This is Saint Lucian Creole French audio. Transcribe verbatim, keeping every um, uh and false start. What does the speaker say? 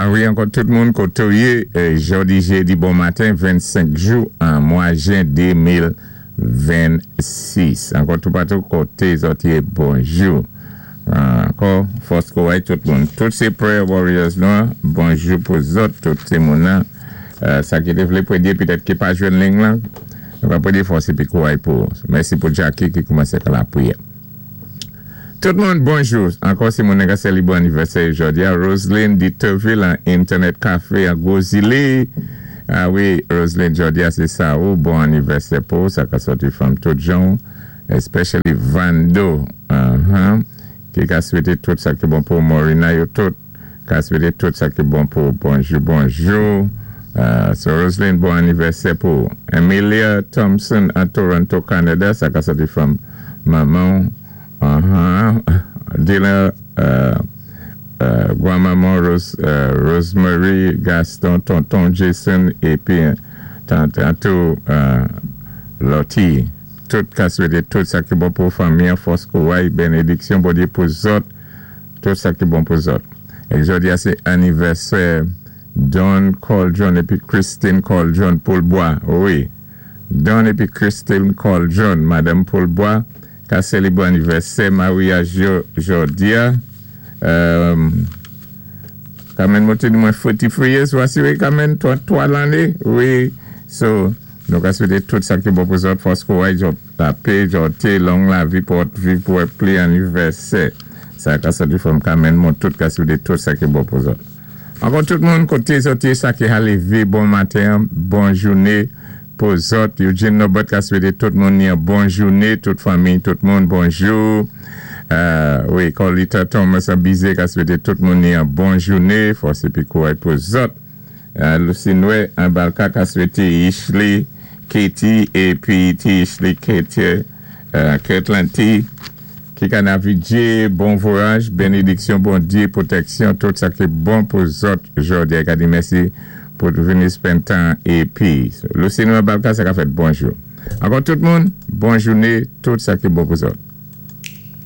Wi, ankò tout moun koté ou yé, jòdi jédi bon maten, vennsenk jou an mwa jen de mil vennsis. Ankò tout patou koté zòt yé, bonjou. Ankò, fòs kouray tout moun. Tout sé prayer warriors nou, bonjou pou zòt, tout sé moun nan. Sa ki té vlé pwédyé, pitèt ki pa jwenn link lan, nou va pwédyé fòs épi kouray pou. Mèsi pou Jackie ki koumansé ka lapriyè. Tout moun, bonjou. Ankò si moun ka sélibwé anivèsè jòdi a, Roselyne Diterville an Internet Café an Gozile. A wi, Roselyne, jòdi a sé sa ou, bon anivèsè pou, sa ka sòti from tout jan, especially Vando, uh-huh, ki ka swété tout sa ki bon pou Morina yo tout, ka swété tout sa ki bon pou, bonjou, bonjou. Uh, so Roselyne, bon anivèsè pou. Emilia Thompson an Toronto, Canada, sa ka sòti from maman, uh-huh, Dila, uh, uh, gwanmanman Rose, uh, Rosemary Gaston, tonton Jason, épi tanto uh, Lottie. Tout ka swété tout sa ki bon pou fanmi, fòs kouray, bénédiksyon, Bondyé pou zòt, tout sa ki bon pou zòt. É jòdi a sé anivèsè Don Coldron épi Christine Coldron Poulbois. Wi, Don épi Christine Coldron, Madame Poulbois, ka sélibwé anivèsè maryaj yo jòdi a. Um, Kamen mwen di mwen forty-three years, wasi wè kamen trant-twa lanné, wi, so, nou ka swété tout sa ki bon pou zòt, fòs kouray, jòt lapè, jòt long lavi pou viv pou pli anivèsè. Sa ka sòti from kamen mwen tout ka swété tout sa ki bon pou zòt. Ankò tout moun koté zòt yé sa ki lévé, bon maten, bon jouné pou zòt. Eugene Norbert ka swété tout moun ni bon jouné, tout fanmi, tout moun, bonjou. Euh, wi, Colita Thomas Abizé ka swété tout moun ni yon bon jouné, fòs épi kouray pou zòt. Euh, Lucinwe an Balka ka swété Ishley, Katie, épi T. Ishley, Katie, euh, Kirtland T, ki ka navigé, bon vwayaj, bénédiksyon, Bondyé, pwotèksyon, tout sa ki bon pou zòt jòdi a. Ka di mèsi pou vini spend tan épi. Lucinwe Balka, sa ka fèt bonjou. Ankò tout moun, bon jouné, tout sa ki bon pou zòt.